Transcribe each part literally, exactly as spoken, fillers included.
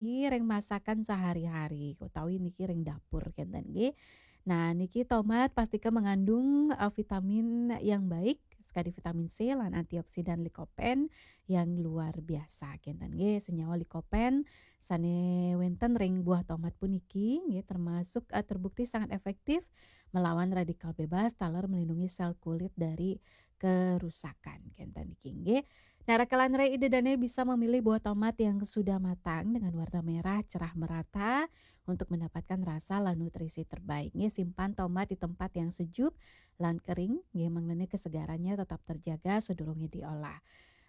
niki ring masakan sehari-hari utawi niki ring dapur kenten nggih. Nah, niki tomat pastika mengandung, eh, vitamin yang baik, sekadi vitamin C lan antioksidan likopen yang luar biasa kenten nggih. Senyawa likopen sane wenten ring buah tomat puniki nggih termasuk, eh, terbukti sangat efektif melawan radikal bebas taler melindungi sel kulit dari kerusakan kenten niki nggih. Nah, raka lan rai Ida Dane bisa memilih buah tomat yang sudah matang dengan warna merah cerah merata untuk mendapatkan rasa lan nutrisi terbaik nggih. Simpan tomat di tempat yang sejuk lan kering nggih, mangdane kesegarannya tetap terjaga sedurunge diolah.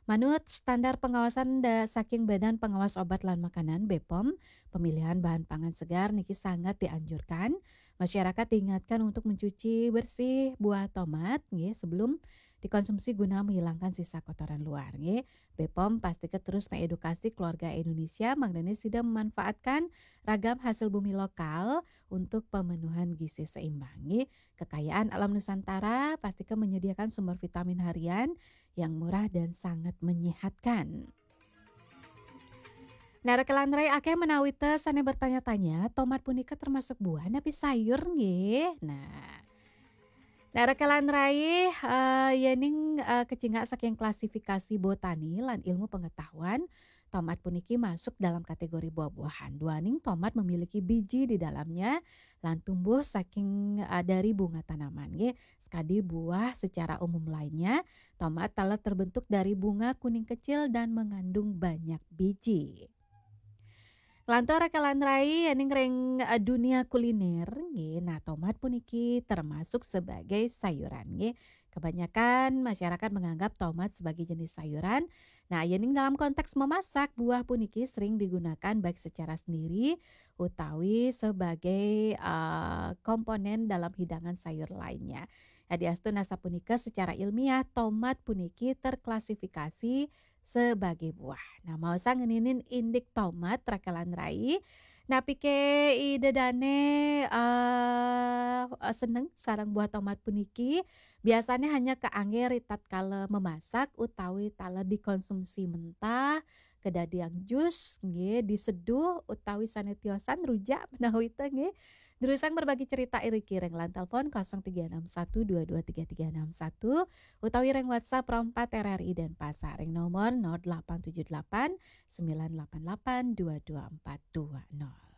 Manut standar pengawasan da, saking Badan Pengawas Obat lan Makanan, B pom, pemilihan bahan pangan segar niki sangat dianjurkan. Masyarakat diingatkan untuk mencuci bersih buah tomat nggih sebelum dikonsumsi guna menghilangkan sisa kotoran luar nggih. B pom pastika terus mengedukasi keluarga Indonesia mangdane sida memanfaatkan ragam hasil bumi lokal untuk pemenuhan gizi seimbang nggih. Kekayaan alam Nusantara pastika menyediakan sumber vitamin harian yang murah dan sangat menyehatkan. Nah, raka lan rai akeh menawi te sane bertanya-tanya, tomat punika termasuk buah napi sayur nggih? Nah. Nah, raka lan rai, eh, yening, eh, kecingak saking klasifikasi botani lan ilmu pengetahuan, tomat puniki masuk dalam kategori buah-buahan. Duaning tomat memiliki biji di dalamnya lan tumbuh saking, eh, dari bunga tanaman nggih. Sekadi buah secara umum lainnya, tomat taler terbentuk dari bunga kuning kecil dan mengandung banyak biji. Lantur raka lan rai yening ring, eh, dunia kuliner nggih. Nah, tomat puniki termasuk sebagai sayuran nggih. Kebanyakan masyarakat menganggap tomat sebagai jenis sayuran. Nah, yening dalam konteks memasak, buah puniki sering digunakan baik secara sendiri utawi sebagai, eh, komponen dalam hidangan sayur lainnya. Yadiastun asapunika secara ilmiah tomat puniki terklasifikasi sebagai buah. Nah, maosang ngeninin indik tomat raka lan rai. Napike Ida Dane, eh, seneng sareng buah tomat puniki? Biasane hanya kaangge ri tatkala memasak utawi taler dikonsumsi mentah, kedadian jus nggih, diseduh utawi sane tiosan rujak menawi te nggih. Durusang berbagi cerita iriki ring lan telepon kosong tiga enam satu dua dua tiga tiga enam satu utawi ring WhatsApp Rompat R R I Denpasar ring nomor nol delapan tujuh delapan sembilan delapan delapan dua dua empat dua nol.